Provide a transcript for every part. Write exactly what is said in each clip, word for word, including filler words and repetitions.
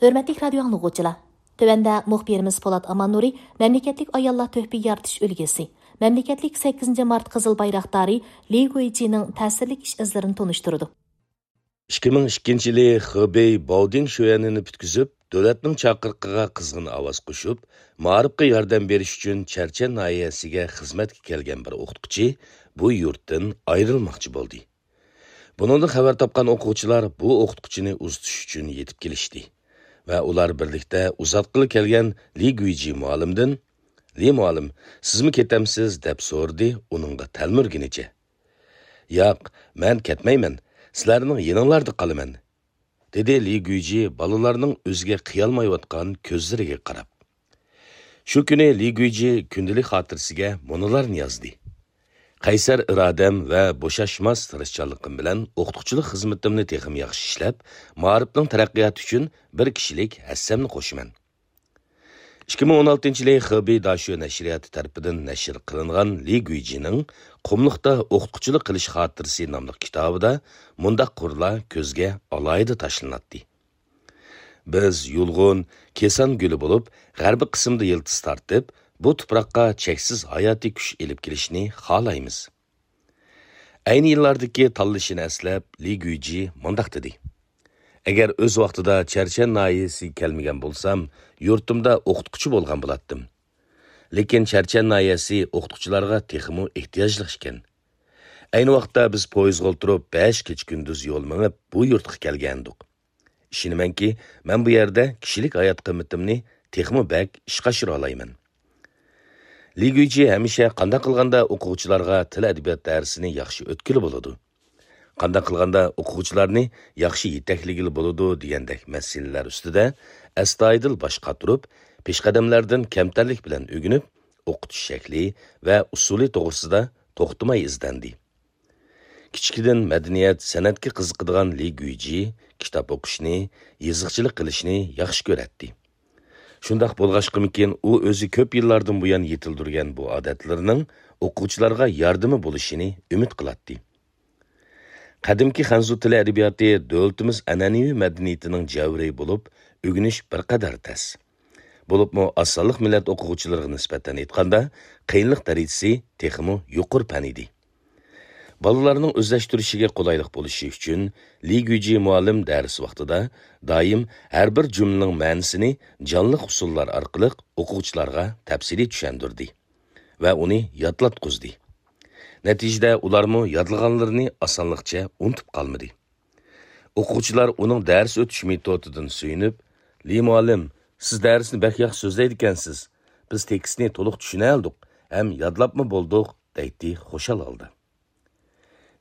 ھۆرمەتلىك رادىيو ئاڭلىغۇچىلار! تۆۋەندە مۇخبىرىمىز پولات ئاماننۇرى مەملىكەتلىك ئاياللار تۆھپە يارىتىش ئۈلگىسى، مەملىكەتلىك سەككىزىنچى مارت قىزىل بايراقدارى لى گۇيجىنىڭ تەسىرلىك ئىش ئىزلىرىنى تونۇشتۇرىدۇ. ئىككى مىڭ ئىككىنچى يىلى خېبېي باۋدىڭ شۆيەنىنى پۈتكۈزۈپ، دۆلەتنىڭ چاقىرىقىغا قىزغىن ئاۋاز قوشۇپ، مائارىپقا ياردەم بېرىش ئۈچۈن چەرچەن ناھىيەسىگە خىزمەتكە كەلگەن بىر ئوقۇتقۇچى بۇ يۇرتتىن ئايرىلماقچى بولدى. بۇنىڭدىن خەۋەر تاپقان ئوقۇغۇچىلار بۇ ئوقۇتقۇچىنى ئۇزىتىش ئۈچۈن يېتىپ كېلىشتى ۋە ئۇلار بىرلىكتە ئۇزاتقىلى كەلگەن لى گۇيجى مۇئەللىمدىن، «لى مۇئەللىم، سىزمۇ كېتەمسىز؟» دەپ سورىدى ئۇنىڭغا تەلمۈرگىنىچە. «ياق، مەن كەتمەيمەن، سىلەرنىڭ يېنىڭلاردا قالىمەن.» دېدى لى گۇيجى بالىلارنىڭ ئۆزىگە قىيالمايۋاتقان كۆزلىرىگە قاراپ. شۇ كۈنى لى گۇيجى كۈندىلىك خاتىرىسىگە مۇنۇلارنى يازدى: «قەيسەر ئىرادەم ۋە بوشاشماس تىرىشچانلىقىم بىلەن ئوقۇتقۇچىلىق خىزمىتىمنى تېخىمۇ ياخشى ئىشلەپ، مائارىپنىڭ تەرەققىياتى ئۈچۈن بىر كىشىلىك ھەسسەمنى قوشىمەن.» ئىككى مىڭ ئون ئالتىنچى يىلى خېبېي داشۆ نەشرىياتى تەرىپىدىن نەشر قىلىنغان لى گۇيجىنىڭ «قۇملۇقتا ئوقۇتقۇچىلىق قىلىش خاتىرىسى» ناملىق كىتابىدا مۇنداق قۇرلار كۆزگە ئالاھىدە تاشلىناتتى: «بىز يۇلغۇن، كېسان گۈلى بولۇپ، غەربىي قىسىمدا يىلتىز تارتىپ، بۇ تۇپراققا چەكسىز ھاياتىي كۈچ ئېلىپ كېلىشنى خالايمىز.» ئەينى يىللاردىكى تاللىشىنى ئەسلەپ، لى گۇيجى مۇنداق دېدى: «ئەگەر ئۆز ۋاقتىدا چەرچەن ناھىيەسىگە كەلمىگەن بولسام، يۇرتۇمدا ئوقۇتقۇچى بولغان بولاتتىم. لېكىن چەرچەن ناھىيەسى ئوقۇتقۇچىلارغا تېخىمۇ ئېھتىياجلىق ئىكەن. ئەينى ۋاقىتتا بىز پويىزغا ئولتۇرۇپ، بەش كېچە-كۈندۈز يول مېڭىپ، بۇ يۇرتقا كەلگەنىدۇق. ئىشىنىمەنكى، مەن بۇ يەردە كىشىلىك ھايات قىممىتىمنى تېخىمۇ بەك ئىشقا ئاشۇرالايمەن.» لى گۇيجى ھەمىشە قانداق قىلغاندا ئوقۇغۇچىلارغا تىل-ئەدەبىيات دەرسىنى ياخشى ئۆتكىلى بولىدۇ، قانداق قىلغاندا ئوقۇغۇچىلارنى ياخشى يېتەكلىگىلى بولىدۇ دېگەندەك مەسىلىلەر ئۈستىدە ئەستايىدىل باش قاتۇرۇپ، پېشقەدەملەردىن كەمتەرلىك بىلەن ئۆگىنىپ، ئوقۇتۇش شەكلى ۋە ئۇسۇلى توغرىسىدا توختىماي ئىزدەندى. كىچىكىدىن مەدەنىيەت، سەنئەتكە قىزىقىدىغان لى گۇيجى كىتاب ئوقۇشنى، يېزىقچىلىق قىلىشنى ياخشى كۆرەتتى. شۇنداق بولغاچقىمىكىن، ئۇ ئۆزى كۆپ يىللاردىن بۇيان يېتىلدۈرگەن بۇ ئادەتلىرىنىڭ ئوقۇغۇچىلارغا ياردىمى بولۇشىنى ئۈمىد قىلاتتى. قەدىمكى خەنزۇ تىلى ئەدەبىياتى دۆلىتىمىز ئەنئەنىۋى مەدەنىيىتىنىڭ جەۋھىرى بولۇپ، ئۆگىنىش بىر قەدەر تەس. بولۇپمۇ ئاز سانلىق مىللەت ئوقۇغۇچىلىرىغا نىسبەتەن ئېيتقاندا، قىيىنلىق دەرىجىسى تېخىمۇ يۇقىرى پەن ئىدى. بالىلارنىڭ ئۆزلەشتۈرۈشىگە قولايلىق بولۇشى ئۈچۈن، لى گۈيجى مۇئەللىم دەرس ۋاقتىدا دائىم ھەر بىر جۈملىنىڭ مەنىسىنى جانلىق ئۇسۇللار ئارقىلىق ئوقۇغۇچىلارغا تەپسىلىي چۈشەندۈردى ۋە ئۇنى يادلاتقۇزدى. نەتىجىدە ئۇلارمۇ يادلىغانلىرىنى ئاسانلىقچە ئۇنتۇپ قالمىدى. ئوقۇغۇچىلار ئۇنىڭ دەرس ئۆتۈش مېتودىدىن سۆيۈنۈپ، «لى مۇئەللىم، سىز دەرسنى بەك ياخشى سۆزلەيدىكەنسىز. بىز تېكىستنى تولۇق چۈشىنەلدۇق ھەم يادلاپمۇ بولدۇق» دەيتتى خۇشال ھالدا.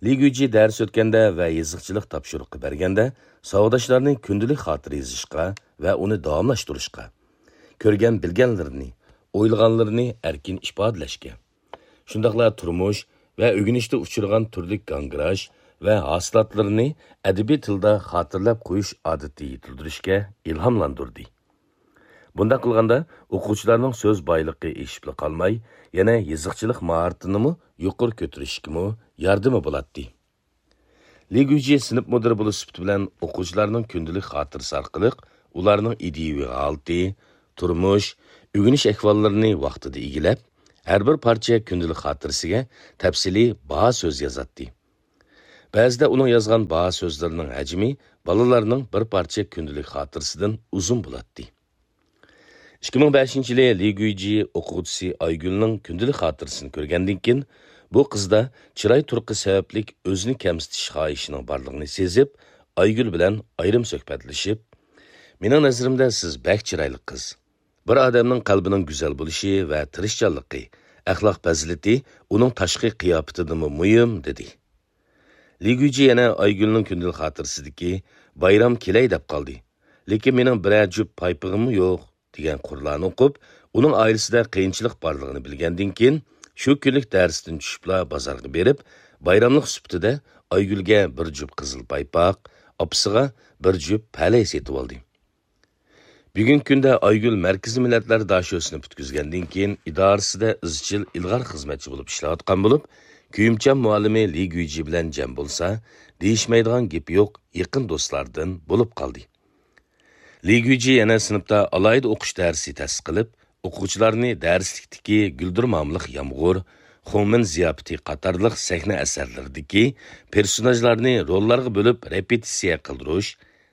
لى گۈيجى دەرس ئۆتكەندە ۋە يېزىقچىلىق تاپشۇرۇقى بەرگەندە ساۋاقداشلارنى كۈندىلىك خاتىرە يېزىشقا ۋە ئۇنى داۋاملاشتۇرۇشقا، كۆرگەن-بىلگەنلىرىنى، ئويلىغانلىرىنى ئەركىن ئىپادىلەشكە، شۇنداقلا تۇرمۇش ۋە ئۆگىنىشتە ئۇچرىغان تۈرلۈك گاڭگىراش ۋە ھاسىلاتلىرىنى ئەدەبىي تىلدا خاتىرىلەپ قويۇش ئادىتى يېتىلدۈرۈشكە ئىلھاملاندۇردى. بۇنداق قىلغاندا، ئوقۇغۇچىلارنىڭ سۆز بايلىقى ئېشىپلا قالماي، يەنە يېزىقچىلىق ماھارىتىنىمۇ يۇقىرى كۆتۈرۈشكىمۇ ياردىمى بولاتتى. لى گۈيجى سىنىپ مۇدىرى بولۇش سۈپىتى بىلەن ئوقۇغۇچىلارنىڭ كۈندىلىك خاتىرىسى ئارقىلىق ئۇلارنىڭ ئىدىيىۋى ھالىتى، تۇرمۇش، ئۆگىنىش ئەھۋاللىرىنى ۋاقتىدا ئىگىلەپ، ھەر بىر پارچە كۈندىلىك خاتىرىسىگە تەپسىلىي باھا سۆز يازاتتى. بەزىدە ئۇنىڭ يازغان باھا سۆزلىرىنىڭ ھەجمى بالىلارنىڭ بىر پارچە كۈندىلىك خاتىرىسىدىن ئۇزۇن بولاتتى. ئىككى مىڭ بەشىنچى يىلى لى گۈيجى ئوقۇغۇچىسى ئايگۈلنىڭ كۈندىلىك خاتىرىسىنى كۆرگەندىن كېيىن، بۇ قىزدا چىراي تۇرقى سەۋەبلىك ئۆزىنى كەمسىتىش خاھىشىنىڭ بارلىقىنى سېزىپ، ئايگۈل بىلەن ئايرىم سۆھبەتلىشىپ، «مېنىڭ نەزىرىمدە سىز بەك چىرايلىق قىز. بىر ئادەمنىڭ قەلبىنىڭ گۈزەل بولۇشى ۋە تىرىشچانلىقى، ئەخلاق پەزىلىتى ئۇنىڭ تاشقى قىياپىتىدىنمۇ مۇھىم» دېدى. لى گۈيجى يەنە ئايگۈلنىڭ كۈندىلىك خاتىرىسىدىكى «بايرام كېلەي دەپ قالدى، لېكىن مېنىڭ بىرەر جۈپ پايپىغىممۇ يوق» دېگەن قۇرلارنى ئوقۇپ، ئۇنىڭ ئائىلىسىدە قىيىنچىلىق بارلىقىنى بىلگەندىن كېيىن، شۇ كۈنلۈك دەرستىن چۈشۈپلا بازارغا بېرىپ، بايراملىق سۈپىتىدە ئايگۈلگە بىر جۈپ قىزىل پايپاق، ئاپىسىغا بىر جۈپ پەلەي سېتىۋالدى. بۈگۈنكى كۈندە ئايگۈل مەركىزىي مىللەتلەر داشۆسىنى پۈتكۈزگەندىن كېيىن، ئىدارىسىدە ئىزچىل ئىلغار خىزمەتچى بولۇپ ئىشلەۋاتقان بولۇپ، كۆيۈمچان مۇئەللىمى لى گۈيجى بىلەن جەم بولسا، دېيىشمەيدىغان گېپى يوق يېقىن دوستلاردىن بولۇپ قالدى. لى گۈيجى يەنە سىنىپتا ئالاھىدە ئوقۇش دەرسى تەسىس قىلىپ، ئوقۇغۇچىلارنى دەرسلىكتىكى گۈلدۈرمامىلىق يامغۇر، خۇڭمىن زىياپىتى قاتارلىق سەھنە ئەسەرلىرىدىكى پېرسوناژلارنى روللارغا بۆلۈپ رېپېتىتسىيە قىلدۇرۇش،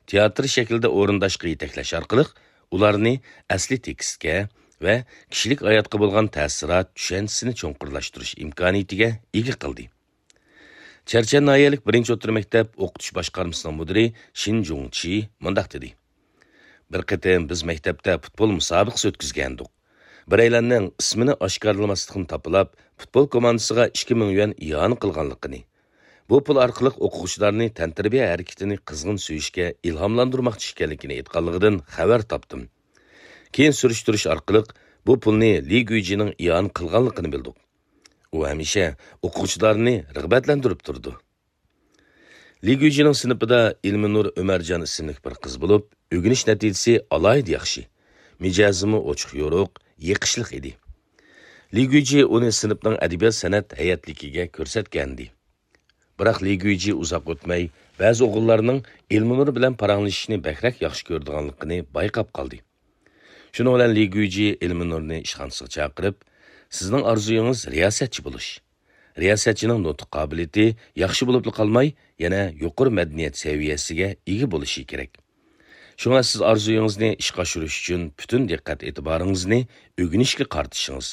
تىياتىر شەكلىدە ئورۇنداشقا يېتەكلەش ئارقىلىق ئۇلارنى ئەسلى تېكىستكە ۋە كىشىلىك ھاياتقا بولغان تەسىرات چۈشەنچىسىنى چوڭقۇرلاشتۇرۇش ئىمكانىيىتىگە ئىگە قىلدى. چەرچەن ناھىيەلىك بىرىنچى ئوتتۇرا مەكتەپ ئوقۇتۇش باشقارمىسىنىڭ مۇدىرى شىن جۇڭچى مۇنداق دېدى: بىر قېتىم بىز مەكتەپتە پۇتبول مۇسابىقىسى ئۆتكۈزگەنىدۇق. بىرەيلەننىڭ ئىسمىنى ئاشكارىلىماسلىقنى تاپىلاپ، پۇتبول كوماندىسىغا ئىككى مىڭ يۈەن ئىئانە قىلغانلىقىنى، بۇ پۇل ئارقىلىق ئوقۇغۇچىلارنى تەنتەربىيە ھەرىكىتىنى قىزغىن سۆيۈشكە ئىلھاملاندۇرماقچى ئىكەنلىكىنى ئېيتقانلىقىدىن خەۋەر تاپتىم. كېيىن سۈرۈشتۈرۈش ئارقىلىق بۇ پۇلنى لى گۈيجىنىڭ ئىئانە قىلغانلىقىنى بىلدۇق. ئۇ ھەمىشە ئوقۇغۇچىلارنى رىغبەتلەندۈرۈپ تۇرىدۇ. لى گۈيجىنىڭ سىنىپىدا ئىلمىنۇر ئۆمەرجان ئىسىملىك بىر قىز بولۇپ، ئۆگىنىش نەتىجىسى ئالاھىدە ياخشى. مىجەزىمۇ ئوچۇق-يورۇق، يېقىشلىق ئىدى. لى گۈيجى ئۇنى سىنىپنىڭ ئەدەبىيات-سەنئەت ھەيئەتلىكىگە كۆرسەتكەنىدى. بىراق لى گۈيجى ئۇزاق ئۆتمەي، بەزى ئوغۇللارنىڭ ئىلمىنۇر بىلەن پاراڭلىشىشنى بەكرەك ياخشى كۆرىدىغانلىقىنى بايقاپ قالدى. شۇنىڭ بىلەن لى گۈيجى ئىلمىنۇرنى ئىشخانىسىغا چاقىرىپ، «سىزنىڭ ئارزۇيىڭىز رىياسەتچى بولۇش. رىياسەتچىنىڭ نۇتۇق قابىلىيىتى ياخشى بولۇپلا قالماي، يەنە يۇقىرى مەدەنىيەت سەۋىيەسىگە ئىگە بولۇشى كېرەك. شۇڭا سىز ئارزۇيىڭىزنى ئىشقا ئاشۇرۇش ئۈچۈن پۈتۈن دىققەت ئېتىبارىڭىزنى ئۆگىنىشكە قارىتىشىڭىز،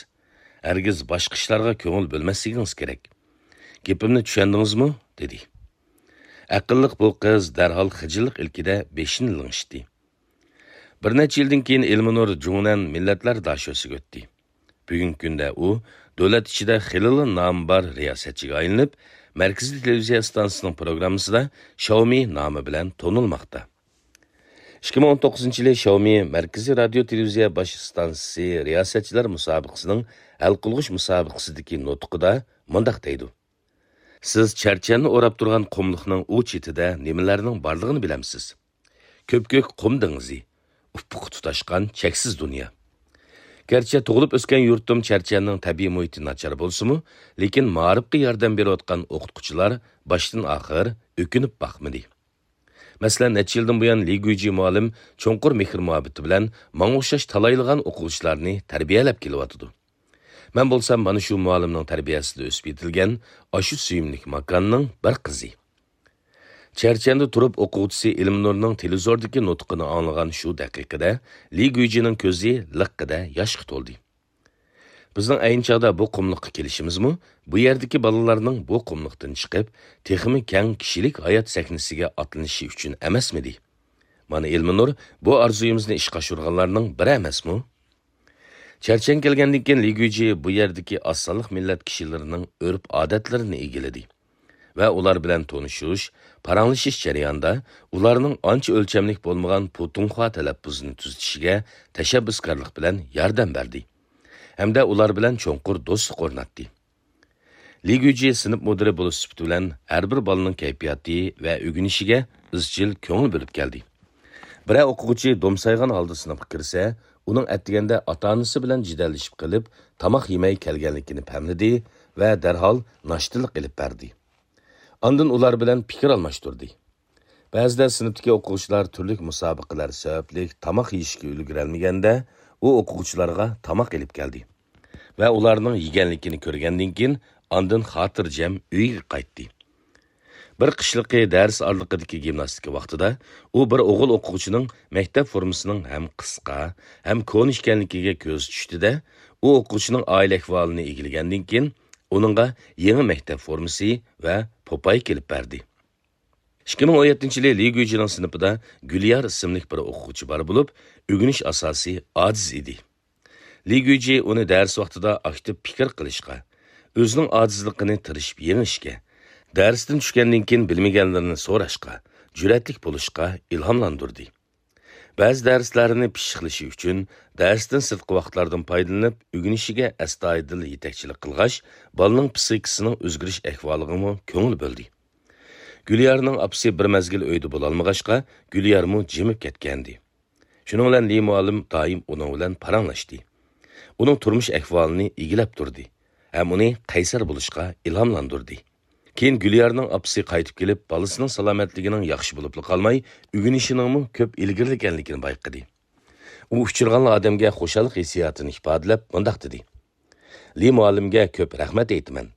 ھەرگىز باشقا ئىشلارغا كۆڭۈل بۆلمەسلىكىڭىز كېرەك. گېپىمنى چۈشەندىڭىزمۇ؟» دېدى. ئەقىللىق بۇ قىز دەرھال خىجىللىق ئىلكىدە بېشىنى لىڭشىتتى. بىر نەچچە يىلدىن كېيىن ئىلمىنۇر جۇڭنەن مىللەتلەر داشۆسىگە ئۆتتى. بۈگۈنكى كۈندە ئۇ دۆلەت ئىچىدە خېلىلا نامى بار رىياسەتچىگە ئايلىنىپ، مەركىزىي تېلېۋىزىيە ئىستانسىسىنىڭ پروگراممىسىدا شاۋمى نامى بىلەن تونۇلماقتا. ئىككى مىڭ ئون توققۇزىنچى يىلى شاۋمى مەركىزىي رادىيو تېلېۋىزىيە باش ئىستانسىسى رىياسەتچىلەر مۇسابىقىسىنىڭ ھەل قىلغۇچ مۇسابىقىسىدىكى نۇتقىدا مۇنداق دەيدۇ: سىز چەرچەننى ئوراپ تۇرغان قۇملۇقنىڭ ئۇ چېتىدە نېمىلەرنىڭ بارلىقىنى بىلەمسىز؟ كۆپكۆك قۇم دېڭىزى، ئۇپۇققا تۇتاشقان چەكسىز دۇنيا. گەرچە تۇغۇلۇپ ئۆسكەن يۇرتۇم چەرچەننىڭ تەبىئىي مۇھىتى ناچار بولسىمۇ، لېكىن مائارىپقا ياردەم بېرىۋاتقان ئوقۇتقۇچىلار باشتىن ئاخىر ئۆكۈنۈپ باقمىدى. مەسىلەن، نەچچە يىلدىن بۇيان لى گۇيجى مۇئەللىم چوڭقۇر مېھىر-مۇھەببىتى بىلەن ماڭا ئوخشاش تالايلىغان ئوقۇغۇچىلارنى تەربىيەلەپ كېلىۋاتىدۇ. مەن بولسام مانا شۇ مۇئەللىمنىڭ تەربىيەسىدە ئۆسۈپ يېتىلگەن ئاشۇ سۆيۈملۈك ماكاننىڭ بىر قىزى. چەرچەندە تۇرۇپ ئوقۇغۇچىسى ئىلمىنۇرنىڭ تېلېۋىزوردىكى نۇتقىنى ئاڭلىغان شۇ دەقىقىدە لى گۇيجىنىڭ كۆزى لىققىدە ياشقا تولدى. بىزنىڭ ئەينى چاغدا بۇ قۇملۇققا كېلىشىمىزمۇ بۇ يەردىكى بالىلارنىڭ بۇ قۇملۇقتىن چىقىپ، تېخىمۇ كەڭ كىشىلىك ھايات سەھنىسىگە ئاتلىنىشى ئۈچۈن ئەمەسمىدى؟ مانا ئىلمىنۇر بۇ ئارزۇيىمىزنى ئىشقا ئاشۇرغانلارنىڭ بىرى ئەمەسمۇ؟ چەرچەن كەلگەندىن كېيىن لى گۇيجى بۇ يەردىكى ئاز سانلىق مىللەت كىشىلىرىنىڭ ئۆرپ-ئادەتلىرىنى ئىگىلىدى ۋە ئۇلار بىلەن تونۇشۇش، پاراڭلىشىش جەريانىدا ئۇلارنىڭ ئانچە ئۆلچەملىك بولمىغان پۇتۇڭخۇا تەلەپپۇزىنى تۈزىتىشىگە تەشەببۇسكارلىق بىلەن ياردەم بەردى ھەمدە ئۇلار بىلەن چوڭقۇر دوستلۇق ئورناتتى. لى گۇيجى سىنىپ مۇدىرى بولۇش سۈپىتى بىلەن ھەر بىر بالىنىڭ كەيپىياتى ۋە ئۆگىنىشىگە ئىزچىل كۆڭۈل بۆلۈپ كەلدى. بىرەر ئوقۇغۇچى دومسايغان ھالدا سىنىپقا كىرسە، ئۇنىڭ ئەتىگەندە ئاتا-ئانىسى بىلەن جېدەللىشىپ قېلىپ، تاماق يېمەي كەلگەنلىكىنى پەملىدى ۋە دەرھال ناشتىلىق ئېلىپ بەردى. ئاندىن ئۇلار بىلەن پىكىر ئالماشتۇردى. بەزىدە سىنىپتىكى ئوقۇغۇچىلار تۈرلۈك مۇسابىقىلەر سەۋەبلىك تاماق يېيىشكە ئۈلگۈرەلمىگەندە، ئۇ ئوقۇغۇچىلارغا تاماق ئېلىپ كەلدى ۋە ئۇلارنىڭ يېگەنلىكىنى كۆرگەندىن كېيىن، ئاندىن خاتىرجەم ئۆيىگە قايتتى. بىر قىشلىقى دەرس ئارىلىقىدىكى گىمناستىكا ۋاقتىدا ئۇ بىر ئوغۇل ئوقۇغۇچىنىڭ مەكتەپ فورمىسىنىڭ ھەم قىسقا، ھەم كونا ئىكەنلىكىگە كۆزى چۈشتى-دە، ئۇ ئوقۇغۇچىنىڭ ئائىلە ئەھۋالىنى ئىگىلىگەندىن كېيىن، ئۇنىڭغا يېڭى مەكتەپ فورمىسى ۋە پوپاي كېلىپ بەردى. ئىككى مىڭ ئون يەتتىنچى يىلى لى گۇيجىنىڭ سىنىپىدا گۈليار ئىسىملىك بىر ئوقۇغۇچى بار بولۇپ، ئۆگىنىش ئاساسى ئاجىز ئىدى. لى گۇيجى ئۇنى دەرس ۋاقتىدا ئاكتىپ پىكىر قىلىشقا، ئۆزىنىڭ ئاجىزلىقىنى تىرىشىپ يېڭىشكە، دەرستىن چۈشكەندىن كېيىن بىلمىگەنلىرىنى سوراشقا، جۈرئەتلىك بولۇشقا ئىلھاملاندۇردى. بەزى دەرسلەرنى پىششىقلىشى ئۈچۈن دەرستىن سىرتقى ۋاقىتلاردىن پايدىلىنىپ، ئۆگىنىشىگە ئەستايىدىل يېتەكچىلىك قىلغاچ، بالىنىڭ پىسخىكىسىنىڭ ئۆزگىرىش ئەھۋالىغىمۇ كۆڭۈل بۆلدى. گۈليارنىڭ ئاپىسى بىر مەزگىل ئۆيدە بولالمىغاچقا، گۈليارمۇ جىمىپ كەتكەنىدى. شۇنىڭ بىلەن لى مۇئەللىم دائىم ئۇنىڭ بىلەن پاراڭلاشتى. ئۇنىڭ تۇرمۇش ئەھۋالىنى ئىگىلەپ تۇردى ھەم ئۇنى قەيسەر بولۇشقا ئىلھاملاندۇردى. كېيىن گۈليارنىڭ ئاپىسى قايتىپ كېلىپ، بالىسىنىڭ سالامەتلىكىنىڭ ياخشى بولۇپلا قالماي، ئۆگىنىشىنىڭمۇ كۆپ ئىلگىرىلىگەنلىكىنى بايقىدى. ئۇ ئۇچرىغانلا ئادەمگە خۇشاللىق ھېسسىياتىنى ئىپادىلەپ مۇنداق دېدى: لى مۇئەللىمگە كۆپ رەھمەت ئېيتىمەن.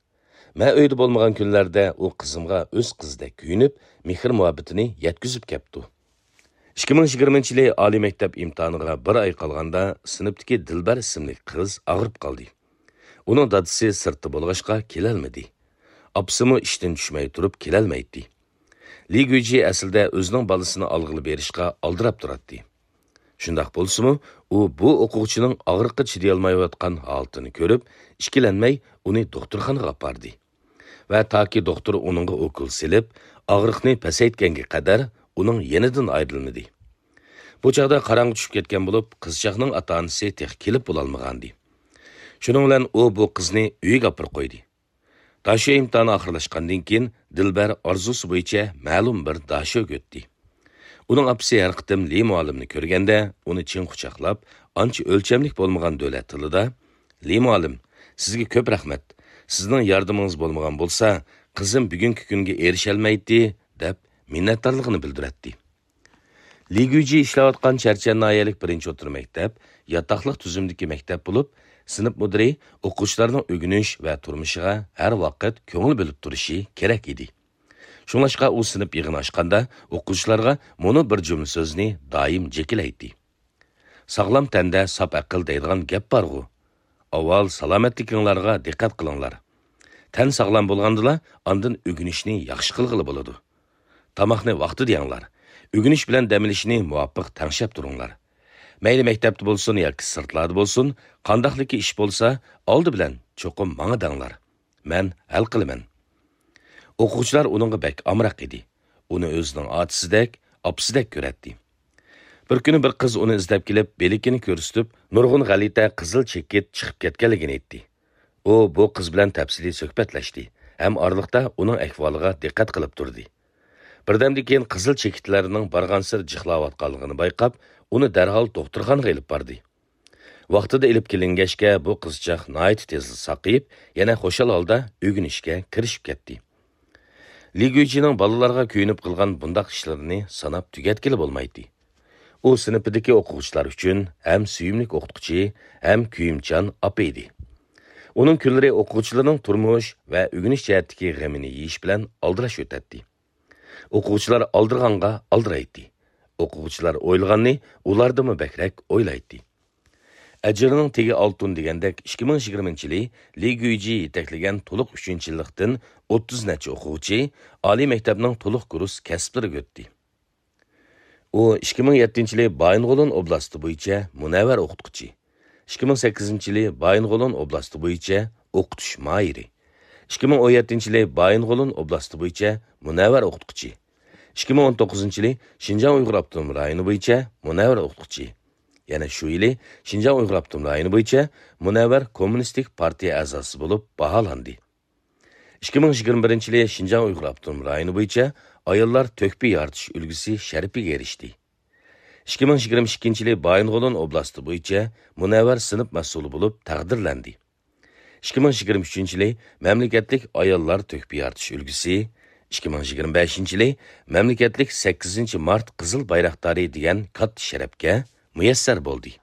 مەن ئۆيدە بولمىغان كۈنلەردە ئۇ قىزىمغا ئۆز قىزىدەك كۆيۈنۈپ، مېھىر-مۇھەببىتىنى يەتكۈزۈپ كەپتۇ. ئىككى مىڭ يىگىرمىنچى يىلى ئالىي مەكتەپ ئىمتىھانىغا بىر ئاي قالغاندا، سىنىپتىكى دىلبەر ئىسىملىك قىز ئاغرىپ قالدى. ئۇنىڭ دادىسى سىرتتا بولغاچقا كېلەلمىدى. ئاپىسىمۇ ئىشتىن چۈشمەي تۇرۇپ كېلەلمەيتتى. لى گۈيجى ئەسلىدە ئۆزىنىڭ بالىسىنى ئالغىلى بېرىشقا ئالدىراپ تۇراتتى. شۇنداق بولسىمۇ، ئۇ بۇ ئوقۇغۇچىنىڭ ئاغرىققا چىدىيالمايۋاتقان ھالىتىنى كۆرۈپ، ئىككىلەنمەي ئۇنى دوختۇرخانىغا ئاپاردى. ۋە تاكى دوختۇر ئۇنىڭغا ئوكۇل سېلىپ، ئاغرىقنى پەسەيتكەنگە قەدەر ئۇنىڭ يېنىدىن ئايرىلمىدى. بۇ چاغدا قاراڭغۇ چۈشۈپ كەتكەن بولۇپ، قىزچاقنىڭ ئاتا-ئانىسى تېخى كېلىپ بولالمىغانىدى. شۇنىڭ بىلەن ئۇ بۇ قىزنى ئۆيىگە ئاپىرىپ قويدى. داشۆ ئىمتىھانى ئاخىرلاشقاندىن كېيىن، دىلبەر ئارزۇسى بويىچە مەلۇم بىر داشۆگە ئۆتتى. ئۇنىڭ ئاپىسى ھەر قېتىم لى مۇئەللىمنى كۆرگەندە، ئۇنى چىڭ قۇچاقلاپ، ئانچە ئۆلچەملىك بولمىغان دۆلەت تىلىدا، «لى مۇئەللىم، سىزگە كۆپ رەھمەت. سىزنىڭ ياردىمىڭىز بولمىغان بولسا، قىزىم بۈگۈنكى كۈنگە ئېرىشەلمەيتتى» دەپ، مىننەتدارلىقىنى بىلدۈرەتتى. لى گۈيجى ئىشلەۋاتقان چەرچەن ناھىيەلىك بىرىنچى ئوتتۇرا مەكتەپ ياتاقلىق تۈزۈمدىكى مەكتەپ بولۇپ، سىنىپ مۇدىرى ئوقۇغۇچىلارنىڭ ئۆگىنىش ۋە تۇرمۇشىغا ھەر ۋاقىت كۆڭۈل بۆلۈپ تۇرۇشى كېرەك ئىدى. شۇڭلاشقا ئۇ سىنىپ يىغىنى ئاچقاندا، ئوقۇغۇچىلارغا مۇنۇ بىر جۈملە سۆزنى دائىم جېكىلەيتتى: «ساغلام تەندە ساپ ئەقىل» دەيدىغان گەپ بارغۇ. ئاۋۋال سالامەتلىكىڭلارغا دىققەت قىلىڭلار. تەن ساغلام بولغاندىلا، ئاندىن ئۆگىنىشنى ياخشى قىلغىلى بولىدۇ. تاماقنى ۋاقتىدا يەڭلار. ئۆگىنىش بىلەن دەم ئېلىشنى مۇۋاپىق تەڭشەپ تۇرۇڭلار. مەيلى مەكتەپتە بولسۇن ياكى سىرتلاردا بولسۇن، قانداقلىكى ئىش بولسا، ئالدى بىلەن چوقۇم ماڭا دەڭلار. مەن ھەل قىلىمەن. ئوقۇغۇچىلار ئۇنىڭغا بەك ئامراق ئىدى. ئۇنى ئۆزىنىڭ ئاتىسىدەك، ئاپىسىدەك كۆرەتتى. بىر كۈنى بىر قىز ئۇنى ئىزدەپ كېلىپ، بىلىكىنى كۆرسىتىپ، نۇرغۇن غەلىتە قىزىل چېكىت چىقىپ كەتكەنلىكىنى ئېيتتى. ئۇ بۇ قىز بىلەن تەپسىلىي سۆھبەتلەشتى ھەم ئارىلىقتا ئۇنىڭ ئەھۋالىغا دىققەت قىلىپ تۇردى. بىردەمدىن كېيىن قىزىل چېكىتلەرنىڭ بارغانسېرى جىقلاۋاتقانلىقىنى بايقاپ، ئۇنى دەرھال دوختۇرخانىغا ئېلىپ باردى. ۋاقتىدا ئېلىپ كېلىنگەچكە، بۇ قىزچاق ناھايىتى تېزلا ساقىيىپ، يەنە خۇشال ھالدا ئۆگىنىشكە كىرىشىپ كەتتى. لى گۈيجىنىڭ بالىلارغا كۆيۈنۈپ قىلغان بۇنداق ئىشلىرىنى ساناپ تۈگەتكىلى بولمايتتى. ئۇ سىنىپىدىكى ئوقۇغۇچىلار ئۈچۈن ھەم سۆيۈملۈك ئوقۇتقۇچى، ھەم كۆيۈمچان ئاپا ئىدى. ئۇنىڭ كۈنلىرى ئوقۇغۇچىلىرىنىڭ تۇرمۇش ۋە ئۆگىنىش جەھەتتىكى غېمىنى يېيىش بىلەن ئالدىراش ئۆتەتتى. ئوقۇغۇچىلار ئالدىرىغانغا ئالدىرايتتى. ئوقۇغۇچىلار ئويلىغاننى ئۇلاردىنمۇ بەكرەك ئويلايتتى. ئەجرىنىڭ تېگى ئالتۇن دېگەندەك، ئىككى مىڭ يىگىرمىنچى يىلى لى گۈيجى يېتەكلىگەن تولۇق ئۈچىنچى يىللىقتىن ئوتتۇز نەچچە ئوقۇغۇچى ئالىي مەكتەپنىڭ تولۇق كۇرس كەسىپلىرىگە ئۆتتى. ئۇ ئىككى مىڭ يەتتىنچى يىلى بايىنغولىن ئوبلاستى بويىچە مۇنەۋۋەر ئوقۇتقۇچى، ئىككى مىڭ سەككىزىنچى يىلى بايىنغولىن ئوبلاستى بويىچە ئوقۇتۇش ماھىرى، ئىككى مىڭ ئون يەتتىنچى يىلى بايىنغولىن ئوبلاستى بويىچە مۇنەۋۋەر ئوقۇتقۇچى، ئىككى مىڭ ئون توققۇزىنچى يىلى شىنجاڭ ئۇيغۇر ئاپتونوم رايونى بويىچە مۇنەۋۋەر ئوقۇتقۇچى، يەنە شۇ يىلى شىنجاڭ ئۇيغۇر ئاپتونوم رايونى بويىچە مۇنەۋۋەر كوممۇنىستىك پارتىيە ئەزاسى بولۇپ باھالاندى. ئىككى مىڭ يىگىرمە بىرىنچى يىلى شىنجاڭ ئۇيغۇر ئاپتونوم رايونى بويىچە ئاياللار تۆھپە يارىتىش ئۈلگىسى شەرىپىگە ئېرىشتى. ئىككى مىڭ يىگىرمە ئىككىنچى يىلى بايىنغولىن ئوبلاستى بويىچە مۇنەۋۋەر سىنىپ مەسئۇلى بولۇپ تەقدىرلەندى. ئىككى مىڭ يىگىرمە ئۈچىنچى يىلى مەملىكەتلىك ئاياللار تۆھپە يارىتىش ئۈلگىسى، ئىككى مىڭ يىگىرمە بەشىنچى يىلى مەملىكەتلىك سەككىزىنچى مارت قىزىل بايراقدارى دېگەن كاتتا شەرەپكە مۇيەسسەر بولدى.